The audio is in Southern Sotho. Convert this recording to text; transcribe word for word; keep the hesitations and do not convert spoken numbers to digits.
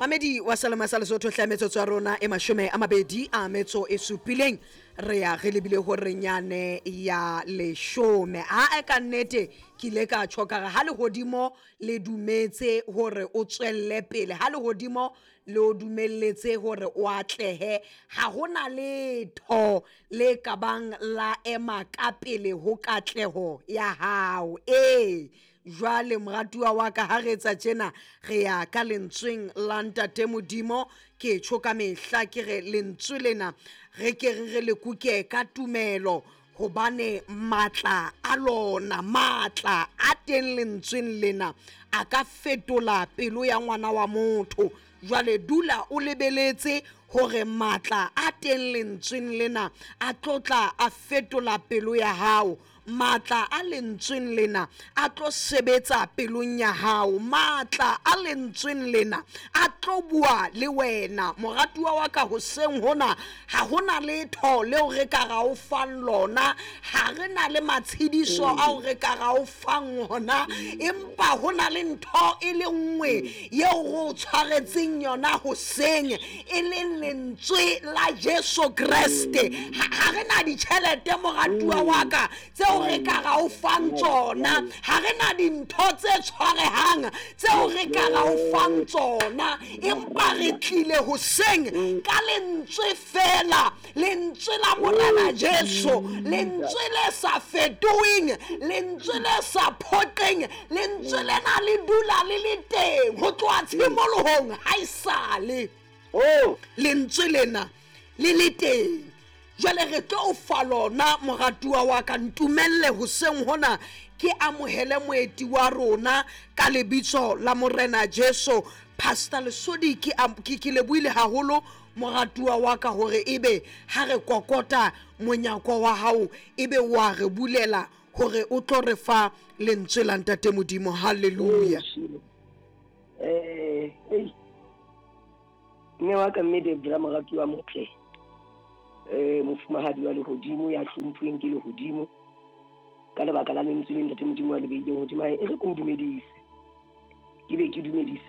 Mamedi wa Selema sa Lesotho, hle, metsotso ya rona e mashome a mabedi a metso e supileng, re ya re lebile hore nyane ya leshome. A e ka nnete ke ile ka tjho ka re ha lehodimo le dumetse hore o tswelle pele, ha lehodimo le o dumelletse hore o atlehe, ha hona letho le ka bang la ema ka pele ho katleho ya hao. Ee, jwale moratuwa wa ka, ha re etsa tjena re ya ka lentsweng la Ntate Modimo. Ke tjho ka mehla ke re lentswe lena re ke re re le kuke ka tumelo, hobane matla a lona, matla a teng lentsweng lena a ka fetola pelo ya ngwana wa motho. Jwale dula o lebeletse hore matla a teng lentsweng lena a tlotla a fetola pelo ya hao. Matla a lentsweng lena a tlo sebetsa pelong ya hao. Matla a lentsweng lena a tlo bua le wena, moratuwa wa ka. Hoseng hona ha hona letho leo re ka ra o fang lona, ha re na le matshediso ao re ka ra o fang hona, empa ho na le ntho e le nngwe yeo re o tshwaretseng yona hoseng, e leng lentswe la Jesu Kreste. Ha re na ditjhelete, moratuwa wa ka, tseo re ka ra o fang tsona, ha re na dintho tse tshwarehang tseo re ka ra o fang tsona, empa re tlile hoseng ka lentswe fela, lentswe la Morena Jesu, lentswe le sa fetoheng, lentswe le sa phoqeng. Lentswe lena le dula le le teng ho tloha tshimolohong, ha e sale Oh, lentswe lena le le teng. Jwale re tlo o fa lona, moratuwa wa ka. Ntumelle hoseng hona ke amohele moeti wa rona ka lebitso la Morena Jesu, Pastor Lesodi. Ke am- ke ke lebohile haholo, moratuwa wa ka, hore ebe ha re kokota monyako wa hao ebe wa re bulela hore o tlo re fa lentswe la Ntate Modimo. Halleluja. eh, ei. Mme wa ka, mme Debra, moratuwa motle. Eh, mofumahadi wa lehodimo ya hlomphuweng ke lehodimo. Ka lebaka la lentswe le Ntate Modimo wa le beileng hodimo hae, e re ke o dumedise. Ke be ke dumedise.